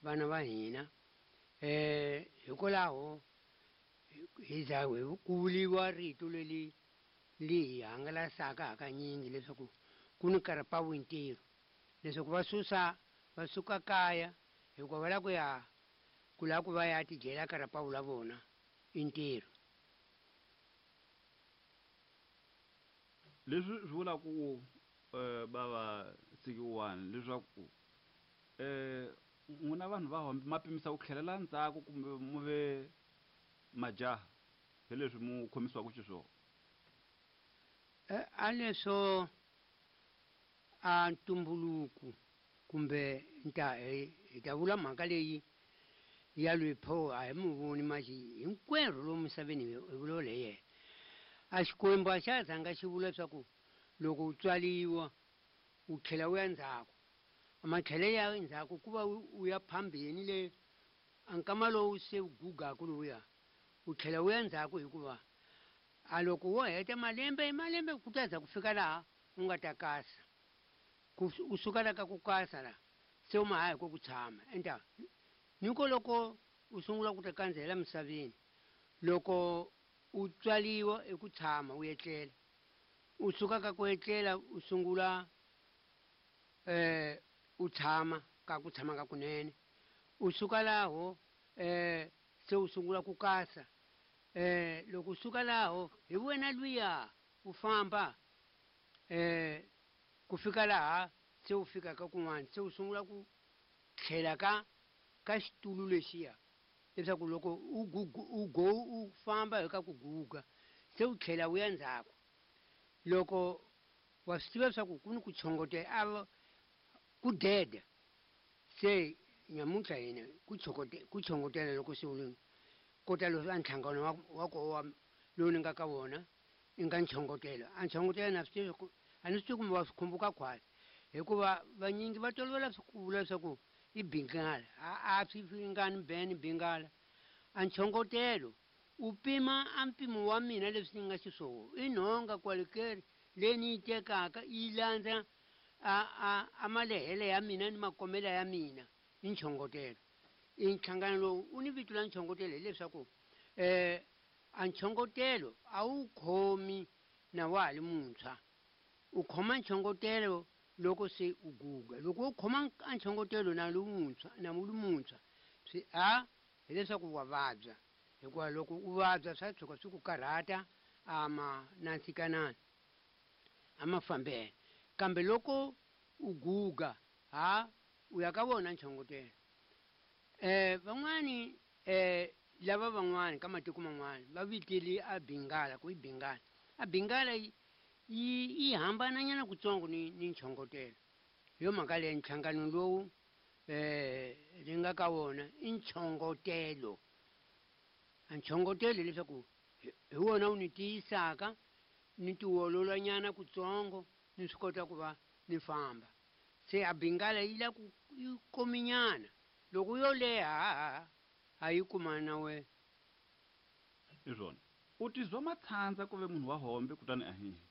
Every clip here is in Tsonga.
vana va hina. Hikwalaho hi za ku vuriwa rito leri li hi hangalasaka hakanyingi leswaku ku ni karapawu ntirho, leswaku va susa va suka kaya hikuva va lava ku ya ku lava ku va ya tidyela karapawu la vona i ntirho. Leswi swi vula ku bava Sikiwani leswaku n'wina vanhu va Hombe ma pimisa ku tlhelela ndzhaku kumbe mu ve majaha hi leswi mu khomisiwaka xiswona? A leswo a ntumbuluko kumbe nta hi ta vula mhaka leyi ya lweyi pho a hi mu voni maxi hinkwerhu lomu misaveni hi vulavula hi yena. A Xikwembu a xa ha zanga xi vula leswaku loko u tswariwa u tlhela u ya ndzhaku. A matlhele ya ndzhaku ku va u ya phambeni le a nkama lowu se u gugaku lowuya u tlhela u ya ndzhaku hikuva a loko wo heta malembe malembe ku ta za ku fika laha u nga ta kasa. Ku u suka la ka ku kasa la se u ma ha hi ko ku tshama. Enta ni ko loko u sungula ku ta kandzihela misaveni loko u tswariwa i ku tshama u etlela. U suka ka ku etlela u sungula u tshama ka ku tshama ka kunene. U suka laho se u sungula ku kasa. Loko u suka laho hi wena luya u famba ku fika laha se u fikaka kun'wana se u sungula ku tlhela ka ka xitulu lexiya leswaku loko u u go u famba hi ka ku guga se u tlhela u ya ndzhaku. Loko wa swi tiva leswaku ku ni ku chongotela a ku deda se nyamuntlha hina ku ku chongotela loko se u ri kota leswi a nhlangano wa wa koho wa lowu ni nga ka wona i nga nchongotelo. A nchongotelo na swi tivi ku a ni swi tivi kumbe wa swi khumbuka khwatsi hikuva vanyingi va tolovela ku vula leswaku i bingala a a swi ringani Ben bingala. A nchongotelo u pima a mpimo wa mina leswi ni nga xiswona i nhonga kwalikeri leyi ni yi tekaka yi landza a a a malehele ya mina ni makomela ya mina i nchongotelo. I nhlangano lowu u ni vito la nchongotelo hileswaku a nchongotelo a wu khomi na wa ha li muntshwa. U khoma nchongotelo loko se u guga. Loko wo khoma a nchongotelo na li wuntshwa na u li muntshwa swi a hileswaku wa vabya hikuva loko u vabya swa tshuka swi ku karhata a ma nandzikanani a mafambele. Kambe loko u guga ha u ya ka wona nchongotelo. Van'wani lava van'wani ka matiko man'wana va vitile a bingala ku i bingala. A bingala yi yi hambananyana kutsongo ni ni nchongotelo. Hi yo mhaka leyi nhlangano lowu ni nga ka wona i nchongotelo. A nchongotelo hileswaku hi wona wu ni tiyisaka ni tiololanyana kutsongo ni swi kota ku va ni famba. Se a bingala yi la ku yi kominyana loko yo leha a yi kumani na wena. Hi swona. U tizwa matshandza ku ve munhu wa hombe kutani a hi.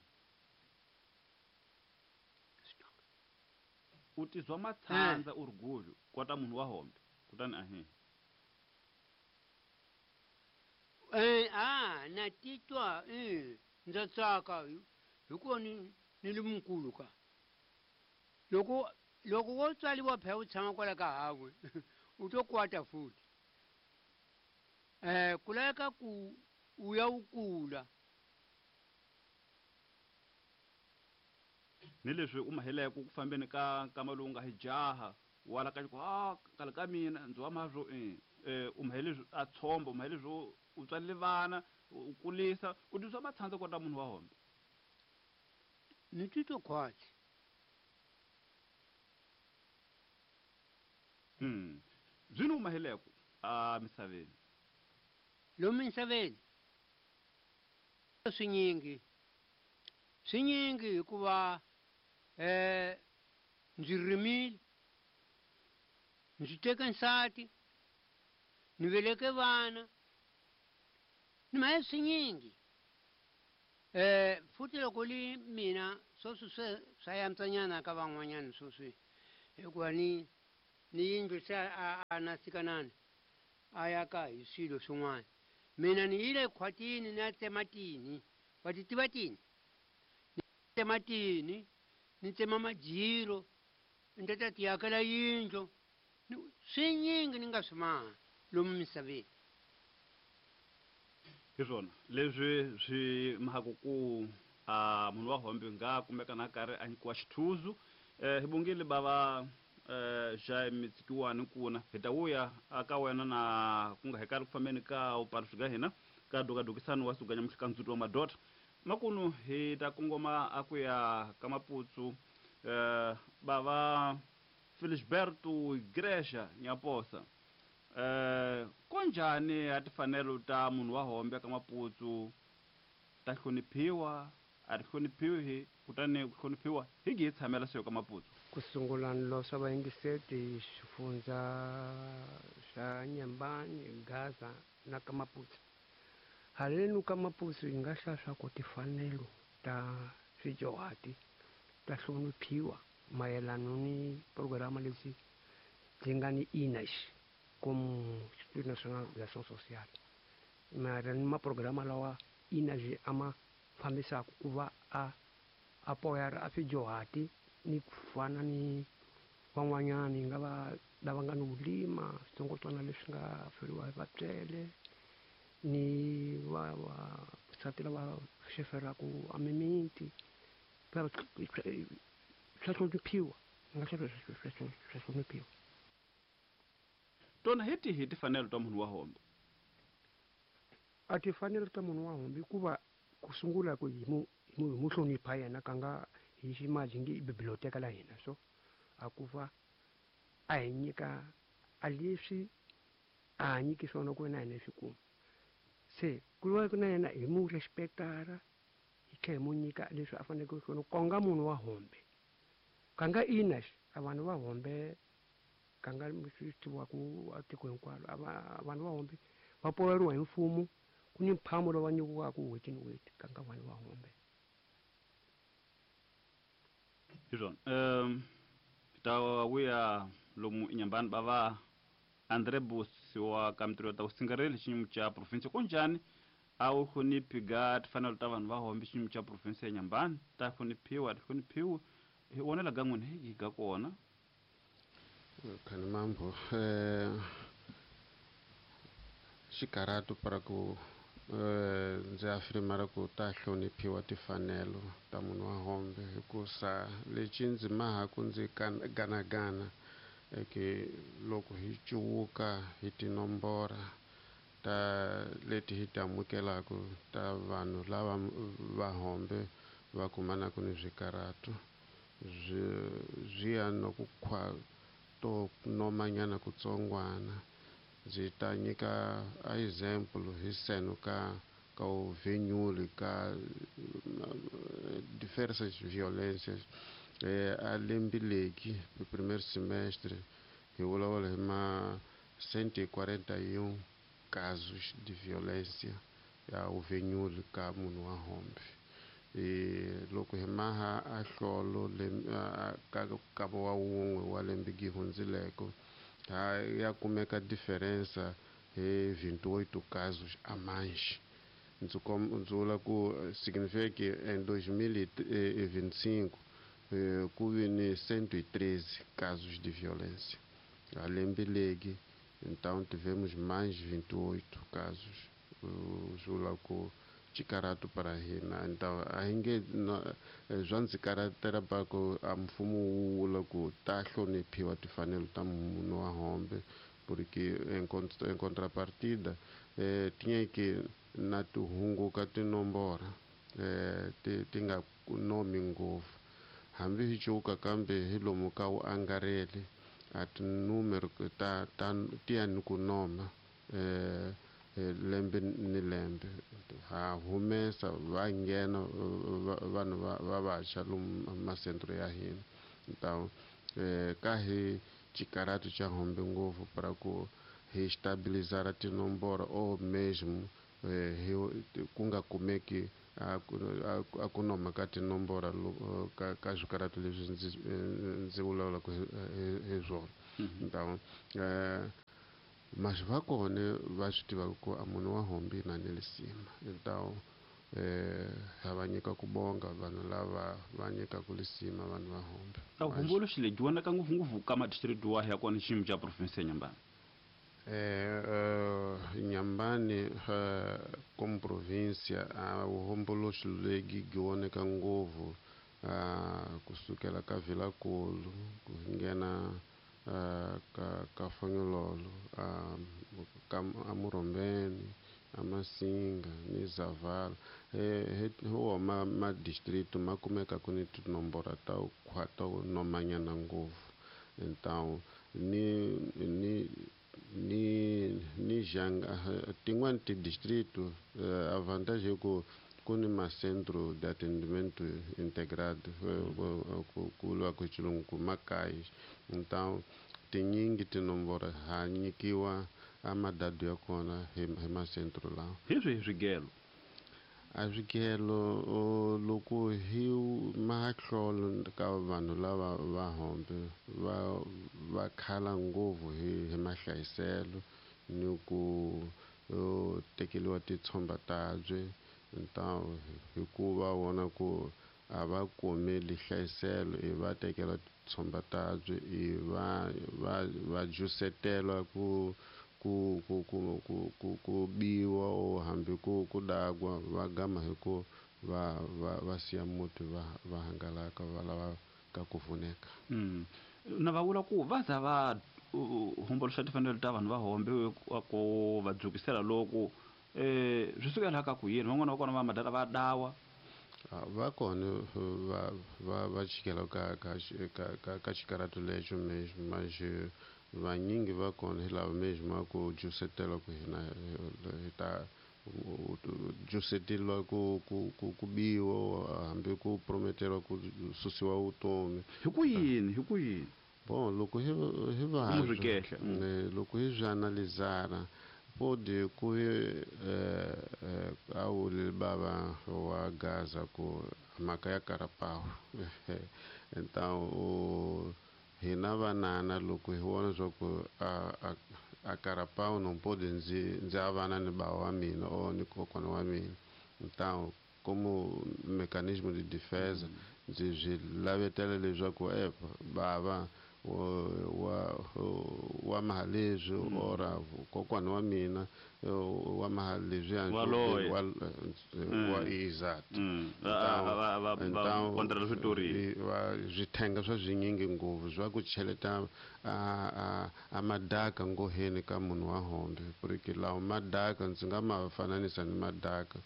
U tizwa matshandza u ri gudlu kota munhu wa hombe kutani a hi. A na titwa ndza tsaka hikuva ni ni li mukulu ka. Loko loko wo tswariwa phela u tshama kwala ka hawe u to kwata futhi. Ku laveka ku u ya u kula. Ni leswi u maheleke ku fambeni ka nkama lowu nga hi jaha wala ka ku a kale ka mina ndzi wa mazwo u mahele a tshomba u mahele swo u tswalile vana u kulisa u tizwa matshandza kota munhu wa hombe. Ni titwa khwatsi. Byi ni u maheleko a misaveni? Lomu misaveni swinyingi swinyingi hikuva ndzi rimile ndzi teke nsati ni veleke vana ni mahe swinyingi. Futhi loko li mina sweswi swe swa yantswanyana ka van'wanyana sweswi hikuva ni ni yindlu se a na sikanani a ya ka hi swilo swin'wana. Mina ni yile khwatini ni ya tsema tini, wa ti tiva tini? Ni tsema tini, ni tsema majiro, ni ta ta ti akela yindlu, swinyingi ni nga swi maha lomu misaveni. Hi swona leswi swi mhaka ku a munhu wa hombe nga kumeka na karhi a nyikiwa xithuzu. Hi bongile bava Jaime Tsikiwani kuna hi ta vuya aka wena na ku nga hekali ku fambeni ka upaluxi ga hina ka dokadokisani wa suka nyamuhla ka ndzhuti wa madoda. Makunu hi ta kongoma a ku ya ka Maputsu, bava Felisberto Igreja Nyaposa. Konjhani a timfanelo ta munhu wa hombe ka Maputsu ta hloniphiwa, a ti hloniphiwi, kutani ku hloniphiwa hi gi hi tshamela swi ka Maputsu? Ku sungula ni losa vayingiseti xifundza xa Nyambani, Gaza na ka Maputsu. Haleno ka Maputsu hi nga hlaya swa ku timfanelo ta swidyuhati ta hloniphiwa mayelana ni programa leswi byi nga ni INAS como Instituto Nacional de Ação Social. Mara ni maprograma lawa INAS a ma fambisaka ku va a apoyar a swidyuhati ni ku fana ni van'wanyani nga va lava nga ni vulima switsongwatsongwana leswi nga feriwa hi vatswele ni va vasati lava xeferaku a mimiti swa hloniphiwa, nga swa hloniphiwa. Tona hi tihi timfanelo ta munhu wa hombe? A timfanelo ta munhu wa hombe hikuva ku sungula ku hi mu hi mu hlonipha yena ka nga hi ximaji nge i biblioteka la hina, so a ku va a hi nyika a leswi a ha nyiki swona ku na hina hi swi kuma. Se ku va na yena hi mu respectara, hi tlhela hi mu nyika leswi a faneleke swona ku nga munhu wa hombe. Ka nga ina a vanhu va hombe ka nga swi tiviwaka a tiko hinkwaro, a vanhu va hombe va poyeriwa hi mfumo, ku ni mphamo lowu va nyikiwaka n'hweti ni n'hweti ka nga vanhu va hombe. Hi swona. Ta vuya lomu Inyambani bava André Bus wa ka mintirho ta vusingareli xiyimo xa province. Kunjhani a wu hloniphi ga timfanelo ta vanhu va hombe xiyimo xa province ya Nyambani? Ta hloniphiwa, a ti hloniphiwi? Hi vonela ga n'wina hi ga kona. Khani mambo, xikarhatu para ku ndzi afirmara ku ta hloniphiwa timfanelo ta munhu wa hombe hikusa lexi ndzi mahaku ndzi ganagana eke loko hi cuwuka hi tinombora ta leti hi ti amukelaka ta vanhu lava va hombe va kumanaka ni swikarhatu swi ya na ku khwa to nomanyana kutsongwana. Ndzi ta nyika a example hi seno ka uvenyuli ka diversas violências. A lembe leki primeiro semestre hi vulavula hi ma 141 casos de violência ya uvenyuli ka munhu wa hombe. Loko hi maha a hlolo ka ka wa wun'we wa lembe gi hundzileko ha ya kumeka diferença hi 28 casos a mais. Ndzi vula ku significa que em 2025 ku vi ni 113 casos de violência. A lembe legi, então tivemos mais 28 casos. Vula ku xikarhatu para hina. Então a hi nge swa ndzi karhatela pa ku a mfumo wu vula ku ta hloniphiwa timfanelo ta munhu wa hombe, porque em contrapartida tinha que na ti hunguka tinombora ti nga nomi ngopfu. Hambi hi cuka kambe hi lomu ka wu angarheli a tinumero ta ti ya ni ku noma lembe ni lembe. Ha humesa va nghena vanhu va vantshwa lomu masentro ya hina. Então ka hi xikarhatu xa hombe ngopfu para ku hi stabilizar tinomboro ou mesmo hi ku nga kumeki a ku noma ka tinomboro ka swikarhatu leswi ndzi vulavulaka hi swona. Então mas va kona va swi tivaka ku a munhu wa hombi na ni lisima. Então ha va nyika ku bonga vanhu lava va nyikaka lisima vanhu va hombi. A vuhomboloxi lebyi vonaka ngopfungopfu ka madistrikiti wahi ya kona xiyimo xa province ya Inhambane? Inhambane como província a vuhomboloxi lebyi byi voneka ngopfu kusukela ka Vilankulu ku nghena ka Fonyololo ka Amurhombeni Amasinga ni Zavala. Hi wo ma distrito ma kumeka ku ni tinomboro ta khwata nomanyana ngopfu. Então ni ni ni ni janga tin'wani ti-distrito a vantagem é ku ku ni ma-centro de atendimento integrado ku vuriwa ku xilungu ku makaya. Então tinyingi tinomboro ha nyikiwa a madadu ya kona hi ma-centro lawa. Hi swihi swigelo? A swigelo loko hi mahlolo ka vanhu lava va hombe va khala ngopfu hi mahlayiselo ni ku tekeriwa titshomba tabye. Então hikuva vona ku a va kumeli hlayiselo i va tekela titshomba tabye i va va va jusetela ku ku ku ku ku ku ku biwa o hambi ku ku dagwa va gama hi ku va va va siya muti va va hangalaka va lava ka ku pfuneka. Na va vula ku va za va homboloxa timfanelo ta vanhu va hombe ku va dzukisela loko swi sukela ka ku yini van'wana va kona va madala va dawa? Va kona va va va chikela ka ka ka ka xikaratu lexo mesmo, mas vanyingi va kona hi lava mesmo ku jusetela ku hina hi ta juseteriwa ku ku ku ku biwa hambi ku prometeriwa ku susiwa vutomi. Hi ku yini? Hi ku yini? Bon, loko hi hi va loko hi swi analizara pode ku a wuli bava wa Gaza ku mhaka ya Carapau. Então hina vanana loko hi vona swa ku a Carapau não pode ndzi avana ni bava wa mina or ni kokwana wa mina. Então como mecanismo de defesa ndzi swi lavetela leswaku bava wa mahalezwi ora kokwana wa mina wa mahalezwi wa exato. Então swithenga swa swinyingi ngopfu swa ku cheleta a madaka ngoheni ka munhu wa hombe, porque lawa madaka ndzi nga ma fananisa ni madaka,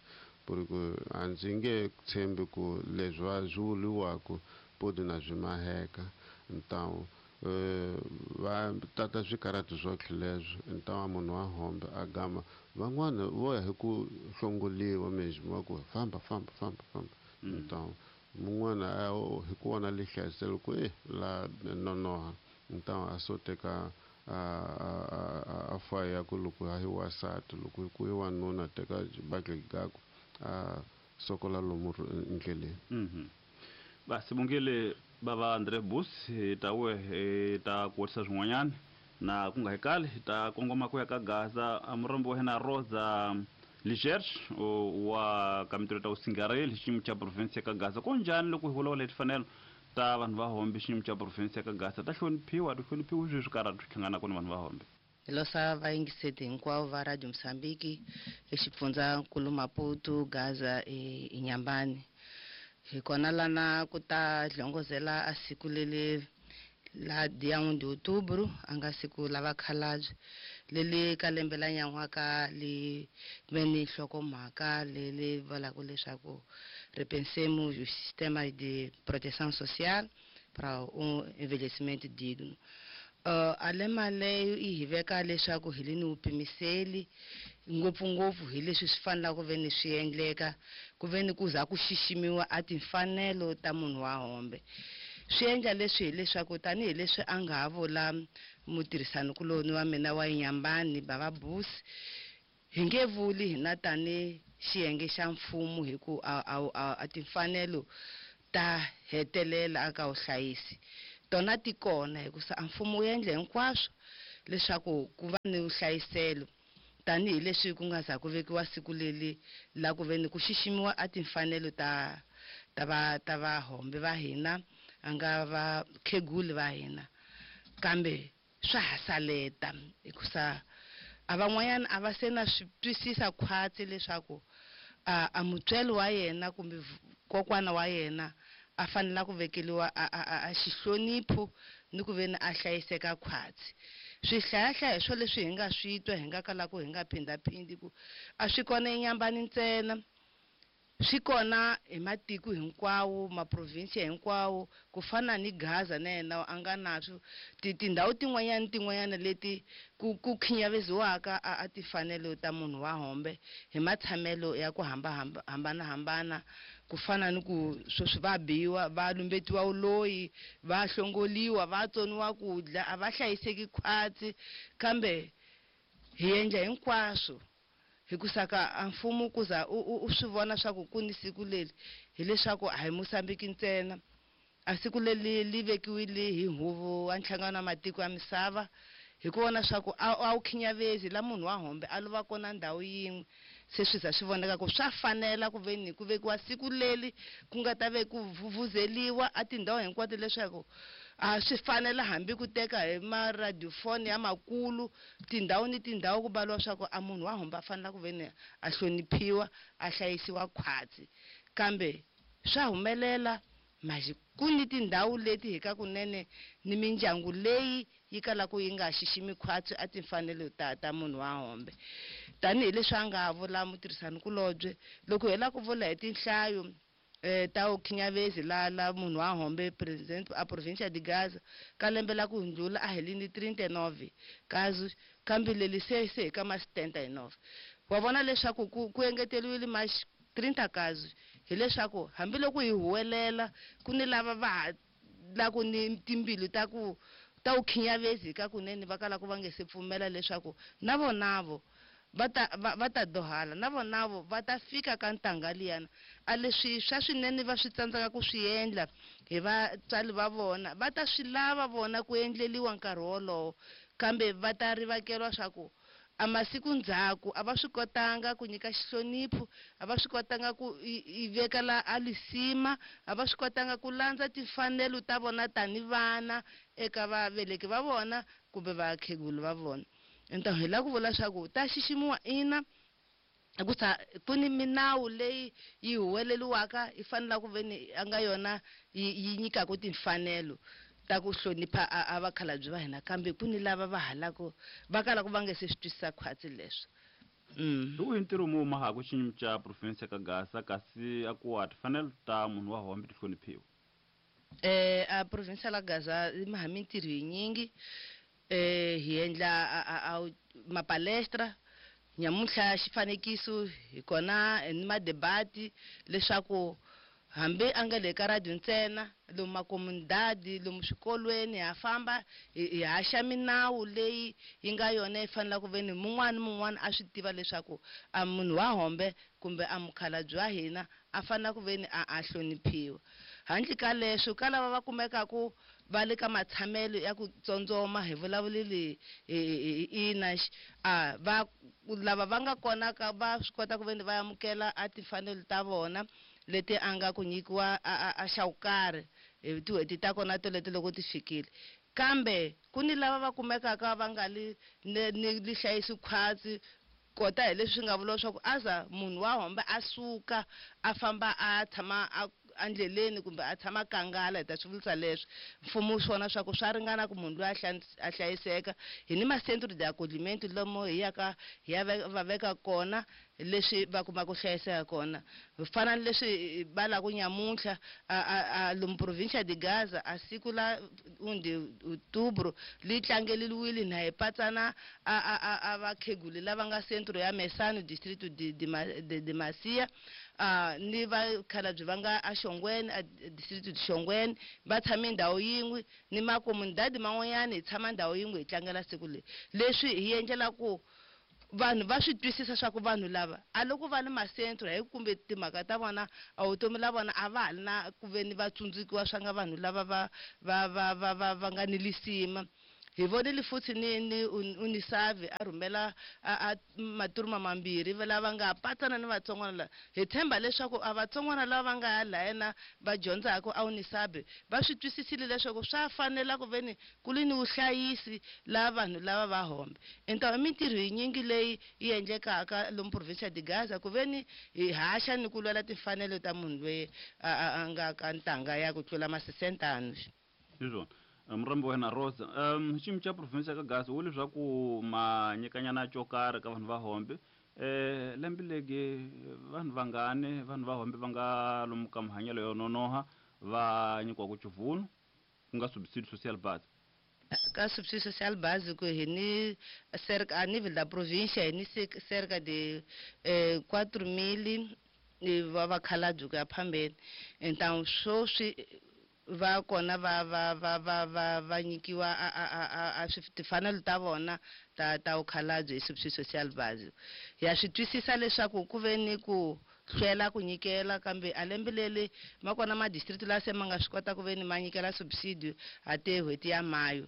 porque a ndzi nge tshembi ku leswi va swi vuriwaka podi na swi maheka. Então va tata swikaratu swo leswo. Então munhu wa hombe a gama van'wana vo ya hi ku hlongoliwa mesmo va ku famba famba famba famba. Então mun'wana hi ku vona lihlayiselo ku la nonoha. Então a so teka a faya ku loko hi wasati loko ku i wanuna teka xibakele gaku a sokola lomu ndleleni. Basibongile bava André Bus hi ta we hi ta kuwisa swin'wanyana na ku nga hi kali hi ta kongoma ku ya ka Gaza. Murombo wa hina Rosa Ligerge wa ka mintirho ta vusingareli xiyimo xa province ya ka Gaza. Ku njhani loko hi vulavula hi timfanelo ta vanhu va hombe xiyimo xa province ya ka Gaza ta hloniphiwa ti hloniphiwi swi swikarhati swi hlanganaka ni vanhu va hombe? Hi losa vayingiseti hinkwavo va Radio Mozambique exifundzankulu Maputo, Gaza Inhambane. Hi kona lana ku ta hlongozela a siku leli la dia 1 de outubro, a nga siku la vakhalabye leli ka lembe la nyan'waka li ve ni nhlokomhaka leli vulaka leswaku repensemos o sistema de proteção social para um envelhecimento digno. A lema leyo yi hi veka leswaku hi le ni vupimiseli ngopfungopfu hi leswi swi fanelaka ku ve ni swi endleka ku ve ni ku za ku xiximiwa a timfanelo ta munhu wa hombe. Swi endla leswi hileswaku tanihileswi a nga ha vula mutirhisanikuloni wa mina wa Inhambane bava Bus, hi nge vuli hina tani xiyenge xa mfumo hi ku a timfanelo ta hetelela aka vuhlayisi. Tona ti kona hikusa a mfumo wu endla hinkwaswo leswaku ku va ni vuhlayiselo, tanihileswi ku nga za ku vekiwa siku leli la ku ve ni ku xiximiwa a timfanelo ta vahombe va hina, a nga vakheguli va hina. Kambe swa ha saleta hikusa a van'wanyana a va se na swi twisisa khwatsi leswaku a mutswari wa yena kumbe kokwana wa yena a fanela ku vekeliwa a xihlonipho ni ku ve ni a hlayiseka khwatsi. Swihlayahlaya swo leswi hi nga swi twa hi nga kalaku hi nga phindhaphindi ku a swi kona eNyambani ntsena, swi kona hi matiko hinkwawo, maprovinsi hinkwawo, ku fana ni Gaza na yena a nga na swo tindhawu tin'wanyana ni tin'wanyana leti ku khinyaveziwaka a timfanelo ta munhu wa hombe hi matshamelo ya ku hambanahambana, ku fana ni ku sweswi va biwa, va lumbetiwa vuloyi, va hlongoliwa, va tsoniwa ku dya, a va hlayiseki khwatsi. Kambe hi endla hinkwaswo hikusa ka a mfumo ku za u swi vona swa ku ku ni siku leri, hileswaku a hi Mozambique ntsena. A siku leri li vekiwile hi huvo wa nhlangano wa matiko ya misava hi ku vona swa ku a wu khinyavezi la munhu wa hombe a lova kona ndhawu yin'we. Se swi za swi voneka ku swa fanela ku ve ni ku vekiwa siku leri ku nga ta ve ku vuvuzeliwa a tindhawu hinkwato leswaku a swi fanela hambi ku teka hi maradiofoni ya makulu tindhawu ni tindhawu ku baliwa swa ku a munhu wa hombe a fanela ku ve ni a hloniphiwa, a hlayisiwa khwatsi. Kambe swa humelela manje ku ni tindhawu leti hi ka kunene ni mindyangu leyi yi kalaka yi nga xiximi khwatsi a timfanelo ta munhu wa hombe. Tanihileswi a nga vula mutirhisanikulobye, loko hi lava ku vula hi tinhlayo ta vukhinyavezi la munhu wa hombe president a provincia de Gaza ka lembe la ku hundzula a hi ni 39 kazi, kambe leli se hi ka ma 79. Wa vona leswaku ku engeteriwile ma 30 kazi, hileswaku hambiloko hi huwelela ku ni lava va ha la ku ni timbilu ta ku ta vukhinyavezi ka kunene va kala ku va nge se pfumela leswaku na vonavo va ta dohala, na vonavo va ta fika ka ntangha liyana. A leswi swa swinene va swi tsandzeka ku swi endla hi vatswari va vona, va ta swi lava vona ku endleliwa nkarhi wolowo, kambe va ta rivakeriwa swa ku a masiku ndzhaku a va swi kotanga ku nyika xihlonipho, a va swi kotanga ku i veka la a lisima, a va swi kotanga ku landza timfanelo ta vona tani vana eka vaveleki va vona kumbe vakhegulu va vona. Enta hi lava ku vula swa ku ta xiximiwa ina, hikusa ku ni minawu leyi yi huweleliwaka yi fanela ku ve ni a nga yona yi nyikaka timfanelo ta ku hlonipha a vakhalabye va hina, kambe ku ni lava va halaka va kalaka va nge se swi twisisa khwatsi leswo. Hi wihi ntirho mu mahaku xinyimi xa province ka Gaza kasi a ku wa timfanelo ta munhu wa hombe ti hloniphiwa? A province la Gaza yi maha mintirho yinyingi. Hi endla a mapalestra nyamuntlha xifanekiso hi kona ni madebati leswaku hambi a nga le ka radio ntsena, lomu makomunidadi, lomu swikolweni ha famba hi haxa minawu leyi yi nga yona yi fanelaka ku ve ni mun'wana ni mun'wana a swi tiva leswaku a munhu wa hombe kumbe a mukhalabye wa hina a fanela ku ve ni a hloniphiwa. Handle ka leswo, ka lava va kumekaku va le ka matshamelo ya ku tsondzoma, hi vulavulile hi ina, a va lava va nga kona ka va swi kota ku ve ni va amukela a timfanelo ta vona leti a nga ku nyikiwa a xa ku karhi hi tin'hweti ta kona toleto loko ti fikile. Kambe ku ni lava va kumekaka va nga li ni li hlayisi khwatsi, kota hi leswi nga vuriwa swa ku aza munhu wa hombe a suka a famba a tshama a endleleni kumbe a tshama kangala, hi ta swi vurisa leswi. Mfumo wu swi vona swa ku swa ringana ku munhu loyi a hlayiseka. Hi ni ma-centro de acoglimento lomu hi yaka hi ya va veka kona leswi va kumaka ku hlayiseka kona. Hi fana ni leswi va lava ku nyamuntlha, a lomu provincia de Gaza, a siku la 1 de outubro li tlangeriwile na hi patsana a vakheguli lava nga centro ya Mesano, distrito de Macia, ni vakhalabye va nga a Xongweni, a distrito de Xongweni, va tshame ndhawu yin'we ni makomunidadi man'wanyana hi tshama ndhawu yin'we hi tlangela siku leri. Leswi hi endlela ku vanhu va swi twisisa swa ku vanhu lava a loko va le masentro hi kumbe timhaka ta vona a vutomi la vona a va ha li na ku ve ni va tsundzukiwa swa nga vanhu lava va va va va va va nga ni lisima. Hi vonile futhi ni Unisavi a rhumela a maturuma mambirhi lava nga patsana ni vatsongwana lava. Hi tshemba leswaku a vatsongwana lava va nga ya lahayana va dyondzaka a Unisavi va swi twisisile leswaku swa fanela ku ve ni ku li ni vuhlayisi la vanhu lava va hombe. Então i mintirho yinyingi leyi yi endlekaka lomu provincia de Gaza ku ve ni hi haxa ni ku lwela timfanelo ta munhu loyi a nga ka ntanga ya ku tlula ma 60 anos. Hi swona. Murhambi wa hina Rosa, xiyimo xa province ya ka Gaza wu leswaku ma nyikanyana xo karhi ka vanhu va hombe. Lembe legi vanhu vangani vanhu va hombe va nga lomu ka mahanyelo yo nonoha va nyikiwaka xivuno ku nga subsidio social base. Ka subsidio social básico hi ni cerca a nível da província hi ni cerca de 4.000 va vakhalabye ku ya phambeni. Então sweswi va kona va va va va va va nyikiwa a timfanelo ta vona ta vukhalabye hi subsidio social básico. Ya swi twisisa leswaku ku ve ni ku hlwela ku nyikela, kambe a lembe leri ma kona ma district la se ma nga swi kota ku ve ni ma nyikela subsidio a te n'hweti ya mayo.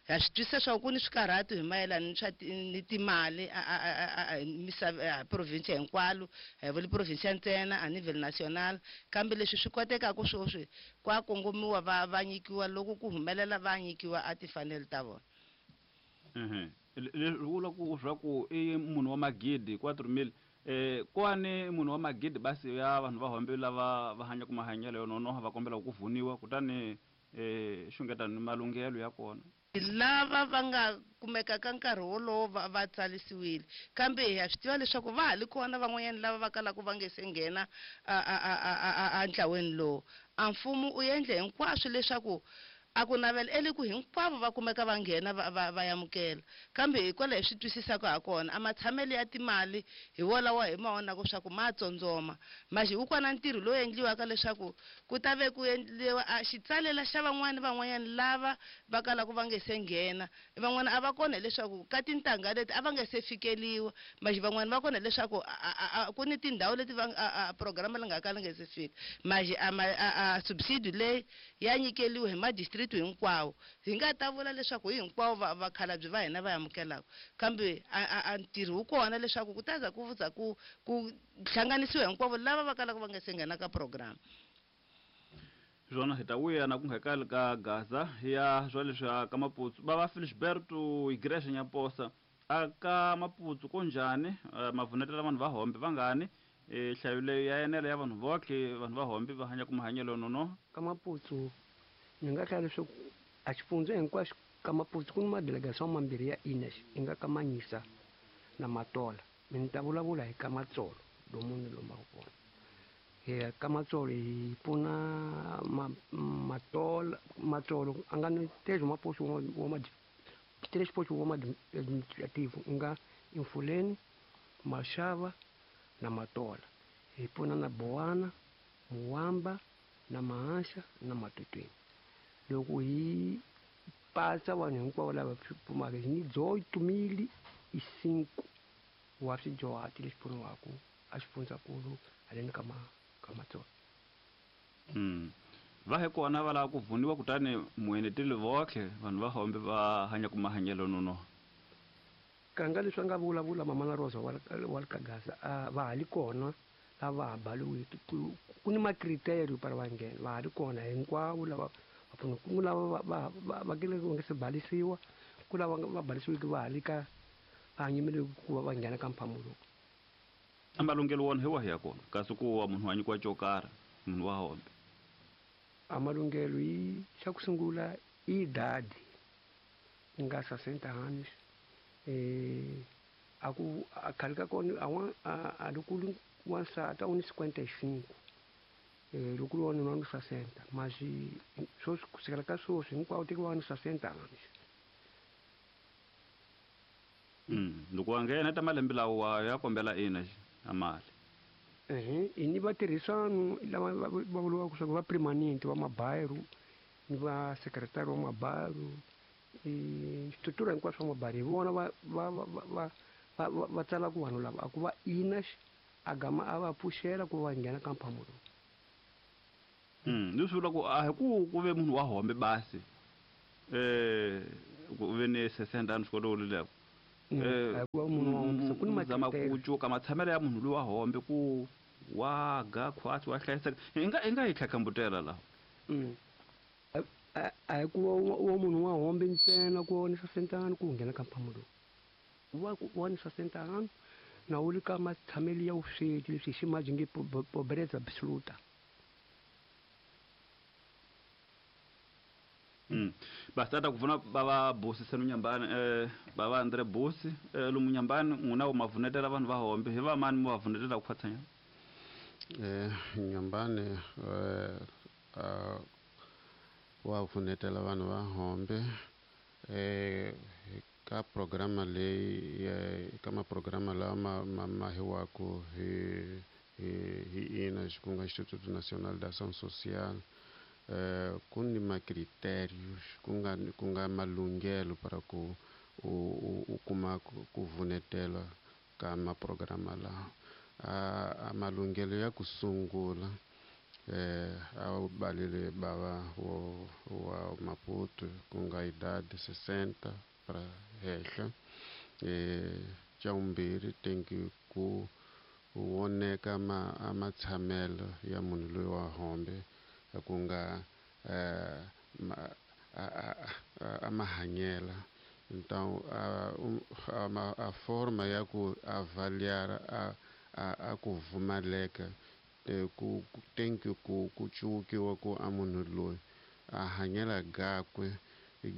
Ya swi twisisa swa ku ni swikarhatu hi mayelana ni swa ni timali a province hinkwalo, a hi vuli province ntsena a nível nacional, kambe leswi swi kotekaka sweswi kwa kongomiwa va nyikiwa loko ku humelela va nyikiwa a timfanelo ta vona. Leswi vula ku swa ku i munhu wa magidi 4.000. Kwani munhu wa magidi basi ya vanhu va hombe lava va hanyaka mahanyelo yo nonoha va kombela ku vuniwa, kutani xungeta ni malunghelo ya kona. Lava va nga kumeka ka nkarhi wolowo va tsarisiwile, kambe hi ya swi tiva leswaku va ha li kona van'wanyana lava va kalaka va nge se nghena a ntlaweni lowu. A mfumo u endle hinkwaswo leswaku a ku navela ele ku hinkwavo va kumeka va nghena va amukela, kambe hikwalaho hi swi twisisaka ha kona a matshamelo ya timali hi wolawo hi ma vonaka swa ku ma tsondzoma. Maxi wu kona ntirho lowu endliwaka leswaku ku ta ve ku endliwa a xitsalela xa van'wani van'wanyana lava va kalaka va nge se nghena. Van'wana a va kona hileswaku ka tintangha leti a va nge se fikeliwa, maxi van'wani va kona hileswaku ku ni tindhawu leti va a programa leyi nga kala nge se fika. Maxi a subsidio leyi ya nyikeliwa hi ma district hinkwawo. Hi nga ta vula leswaku hi hinkwavo vakhalabye va hina va amukelaka, kambe a ntirho wu kona leswaku ku ta za ku za ku hlanganisiwa hinkwavo lava va kalaka va nga se nghena ka program. Swona hi ta vuya na ku nghekali ka Gaza ya swa leswi ka Maputsu. Bava Felisberto Igreja Nyaposa a ka Maputsu ko njhani mavunetela vanhu va hombe vangani nhlayo leyi ya enela ya vanhu votlhe vanhu va hombe va hanya ku mahanyelo nonoha. Ka Maputsu ni nga hlaya leswaku a xifundza hinkwaxo ka Maputsu ku ni madelegation mambirhi ya INES, i nga ka Manyisa na Matola. Mi ni ta vulavula hi ka Matsolo lomu ni lombaka kona. Hi ka Matsolo hi pfuna Matola, Matsolo a nga ni três maposto wa ma três postos wa administrativo, i nga Emfuleni, Mashava na Matola. Hi pfuna na Boana, Muwamba na Mahanxa na Matutweni. Loko hi pasa vanhu hinkwavo lava pfumaka hi ni 8.005 wa swidyuhati leswi pfuniwaka a xifundzankulu haleni ka ka Matsolo. Va he kona va lava ku vuniwa, kutani mueneteli votlhe vanhu va hombe va hanya ku mahanyelo nonoha. Kanga leswi a nga vulavula mama na Rosa wa le ka Gaza, va ha li kona lava ha baliwiki. Ku ni macriterio para va nghena, va ha li kona hinkwavo lava va pfuniwa. Ku lava va kile va nga se balisiwa, ku lava va balisiwiki va ha li ka va hanyimile ku va va nghena ka mphamulo lowu. A malunghelo wona hi wahi ya kona kasi ku wa munhu wa nyikiwa xo karhi munhu wa hombe? A malunghelo hi xa ku sungula i idade i nga 60 anos. A ku a khale ka kona a wa a loko ku wansati a wu ni 55, loko ku ri wanuna wa ni 60, mas sweswi ku sukela ka sweswi hinkwavo tekiwa ni 60 anos. Loko wa nghena ta malembe lawa ya kombela ina a mali. I ni vatirhisano lava va vuriwaka swa ku va permanent va mabayiru ni va secretary wa mabayiru, switura hinkwaswo swa mabayiru hi vona va va va va va va tsala ku vanhu lava a ku va ina a gama a va pfuxela ku va nghena ka mphamo lowu. Leswi vula ku a hi ku ve munhu wa hombe basi ku ve ni 60 anos xikolo lexo. A hi ku va munhu wa hombe, se ku ni Zama macritério. ku cuka matshamelo ya munhu loyi wa hombe ku wa ga khwatsi wa hlayiseka. Hi nga yi tlhatlhambutela laha. A hi ku va munhu wa hombe ntsena ku va ni 60 anos ku nghena ka mphamo lowu. Wa ku wa ni 60 anos na wu ri ka matshamelo ya vusweti leswi hi ximaji nge pobreza absoluta. Bastata ku pfuna bava Busi Senu Nyambani, bava Andre Busi, lomu Nyambani n'wina wu mavunetela vanhu va hombe hi va mani mu va vunetela ku khwatsanya? Nyambani wa vunetela vanhu va hombe ka programa leyi, ka maprograma lawa ma hiwaku hi ina ku nga Instituto Nacional de Ação Social. Ku ni macritérios, ku nga malunghelo para ku u kuma ku vunetela ka maprograma lawa. A malunghelo ya ku sungula a wu balele bava wa Maputo ku nga idade 60 para henhla. Xa vumbirhi tem que ku voneka a matshamelo ya munhu loyi wa hombe ku nga a mahanyela. Então a forma ya ku avaliar a ku pfumaleka, ku tem que ku cukiwa ku a munhu loyi a hanyela gakwe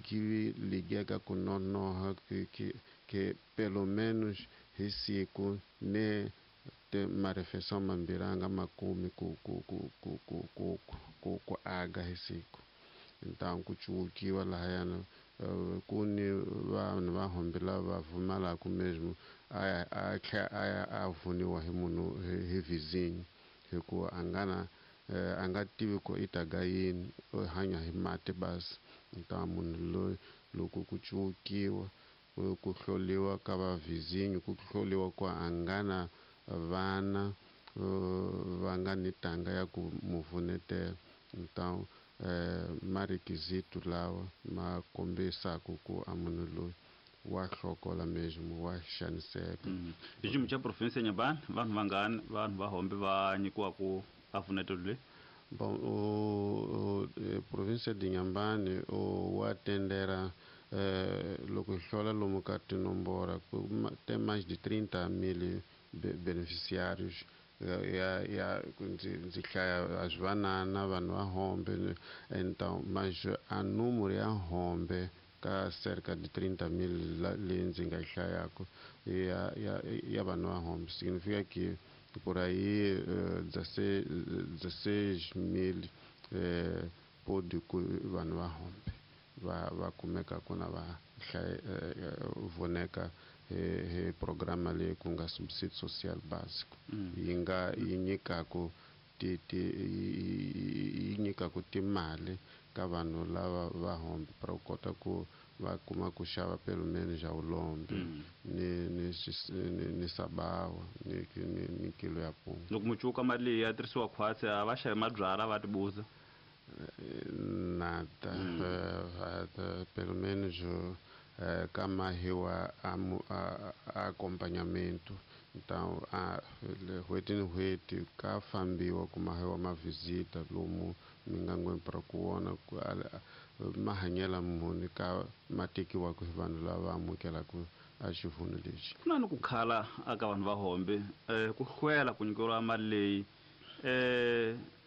gi ligeka ku nonoha que pelo menos hi siku ne te marefeição mambirhi a nga ma kumi ku aga hi siku. Então ku cukiwa lahayana, ku ni vanhu va hombe lava pfumalaka mesmo a tlhela a ya a vuniwa hi munhu hi vizinho hikuva a nga na, a nga tivi ku i ta ga yini, u hanya hi mati basi. Então munhu loyi loko ku cukiwa ku hloliwa ka va vizinho, ku hloliwa ku a nga na vana va nga ni tanga ya ku mu vunetela. Então marequisito lawa ma kombisaka ku a munhu loyi wa hlokola mesmo, wa xaniseka. Hi xiyimo xa province ya Nyambani, vanhu vangani vanhu va hombe va nyikiwa ku a vunetelo leyi? Bom, província de Inhambane, o wa tendera, loko hi hlola lomu ka tinomboro, ku tem mais de 30 mil beneficiários. Ya, ndzi hlaya a swi vanana vanhu va hombe, então, mas a número ya hombe ka cerca de 30 mil leyi ndzi nga yi hlayaka ya vanhu va hombe, significa que por aí 16 mil pode ku vanhu va hombe va kumeka ku na va voneka hi programa leyi ku nga subsídio social básico. Yi nga yi nyikaku ti, ti, yi nyikaku timali ka vanhu lava va hombe para ku kota ku va kuma ku xava pelo menos ja ulombe ni sabawa ni kilo ya punga. Loko mu cuka mali leyi ya tirhisiwa khwatsi, a va xavi mabyalwa va tibuza? Nada. Pelo menos ka mahiwa a acompanhamento. Então, n'hweti ni n'hweti ka fambiwa ku mahiwa ma visita lomu mingangweni para ku vona ku mahanyelo muni ka ma tekiwaka hi vanhu lava amukelaka a xivhuno lexi. Ku na ni ku khala aka vanhu va hombe, ku hlwela ku nyikeriwa mali leyi,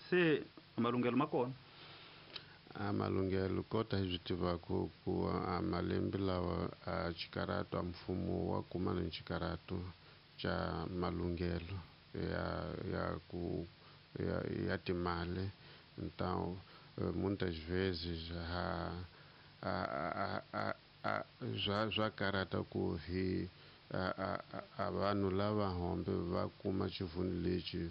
se malunghelo ma kona? A malunghelo kota hi swi tivaka ku a malembe lawa a xikarhato a mfumo wa kuma ni xikarhato xa malunghelo ya ku ya timali. Então, muitas vezes swa karhata ku hi a vanhu lava hombe va kuma xivhuno lexi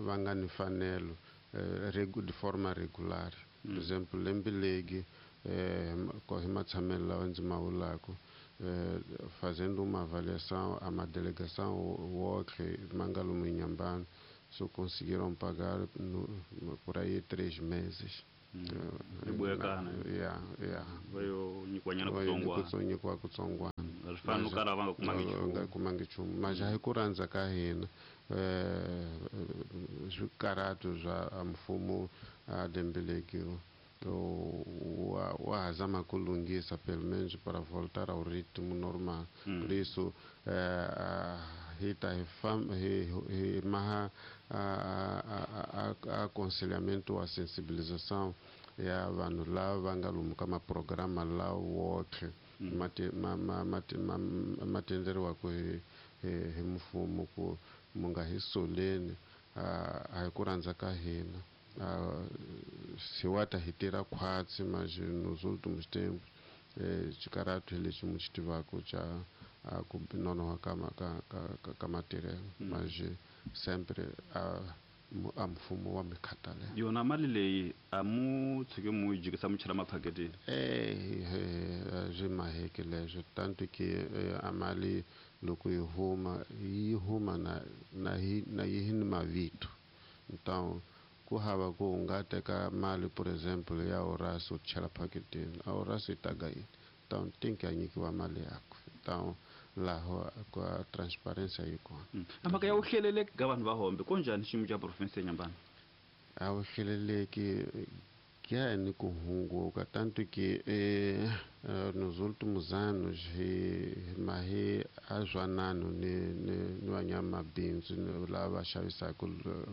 va nga ni mfanelo de forma regular. Por exemplo, lembe legi hi matshamelo lawa ndzi ma vulaka, Fazendo uma avaliação a uma delegação Wok Mangalumu Inhambane só conseguiram pagar por aí 3 meses. Nyikiwa kutsongwana kumangi nchumu mas a hi ku rhandza ka hina swikarhato swa mfumo a lembe wa ha zama ku lunghisa pelo menos para voltar ao ritmo normal. Por isso hi ta hi maha aconselhamento a sensibilização ya vanhu lava va nga lomu ka maprograma lawa woxe ma tenderiwaka hi mfumo ku mu nga hi soleni a hi ku rhandza ka hina. Se wa ta hi tirha khwatsi mas nos últimos tempos xikarhato lexi mu xi tivaka xa ku nonoha ka matirhelo mas sempre a mfumo wa mi khathalela. Yona mali leyi a mu tshike mu yi jikisa mu chela maphaketini? Swi maheke leswo tanto que a mali loko yi huma yi huma na yi ni mavito. Então ku hava ku u nga teka mali por exemplo ya Horácio u chela phaketini a Horácio yi ta ga yini? Então tem que a nyikiwa mali yakwe. Então laho ka transparência yi kona. A mhaka ya vuhleleleki ka vanhu va hombe ko njhani xiyimo xa province ya Inhambane? A vuhleleleki ya ni ku hunguka tanto que nos últimos anos hi mahi a zwanano ni vanyamabindzu lava xavisaka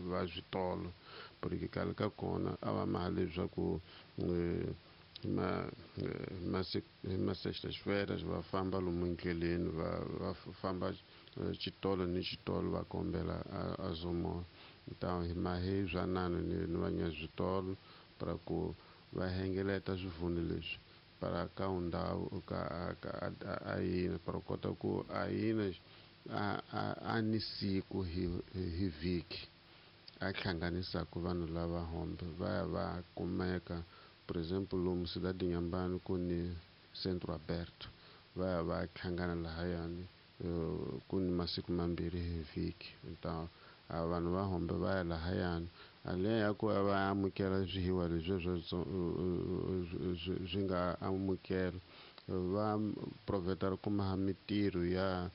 va switolo porque khale ka kona a va maha leswaku ma sextas-feiras va famba lomu endleleni va famba xitolo ni xitolo va kombela a zomola. Então hi mahi zwanano ni vanyaswitolo para ku va hengeleta swivundu leswi para ka ndhawu ka a yina para kota ku a yina a ni siku hi vhiki a hlanganisaka vanhu lava hombe va ya va kumeka. Por exemplo lomu Cidade Inhambane ku ni Centro Aberto va ya va hlangana lahayani ku ni masiku mambirhi hi vhiki. Então vanhu va hombe va ya lahayani ale ya ku va amukela swihiwa leswi swi nga amukela va proveta kuma mitirho ya